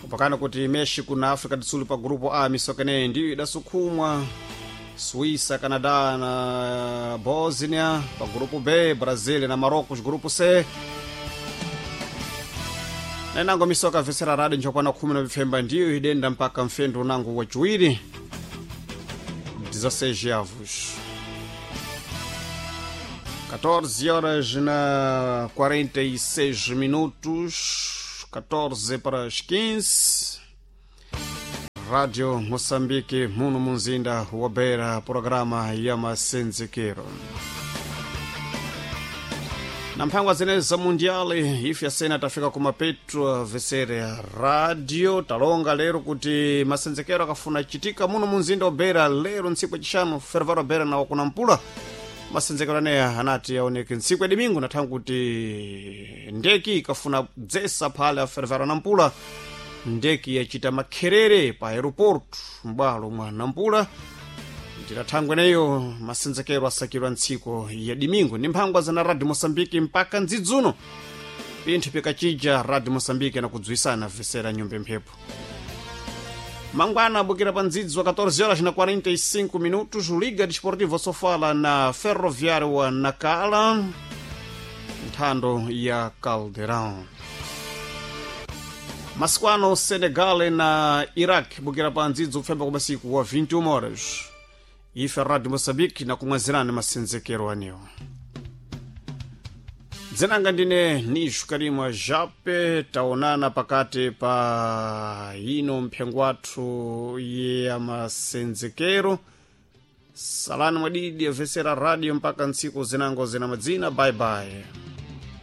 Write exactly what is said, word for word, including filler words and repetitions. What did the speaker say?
Kupakana kuti Mexico na África do Sul pa grupo A, misokeneyi ndiyo idasukhumwa Suíça, Canadá na Bósnia pa grupo B, Brasil na Marrocos grupo C. Nenango misoka vesera radi njokwana khumi na vifemba ndiyo idenda mpaka mfendo unango wachiwiri dezesseis avos catorze horas na quarenta e seis minutos, catorze para as quinze. Rádio Moçambique, muno munzinda wa Beira, programa ya masenzekero na mphangwa zenezi za mundiali. Ife asena tafika kumapetu vesere radio. Talonga lero kuti masenzekero akafuna chitika muno munzinda wa Beira lero ntsiku yacixanu, fervaro Beira na wakunampula. Masenzekero aneya anati aoneke ntsiku ya domingo, nathangu kuti ndeki ikafuna dzesa phale a fervaro Nampula, ndeki yachita makherere pa aeroporto m'bwalo mwa Nampula. Ndirathangwe neyo masenzekero asakidwa ntsiku ya domingo. Ndi mphangwa zana Radio Moçambique mpaka ndzidzuno pinthu pikachija Radio Moçambique nakudziwisana vesera nyumba mphepo. Mangwana abukira pa ndzidzi wa catorze horas na quarenta e cinco minutos, Liga Desportivo Sofala na Ferroviário wa Nakala, nthando ya Caldeirão. Masiku ano Senegal na Iraq bukira pa ndzidzi kupfemba kwa masiku wa vinte e uma horas. Ife Radio Moçambique nakumwazirani masenzekero anewo. Dzinanga ndine Nishu Karimwa Jape. Taonana pakati pa ino mphengo wathu ya masenzekero. Salani mwadidi avesera radio mpaka ntsiku zinango zina madzina. Bye bye.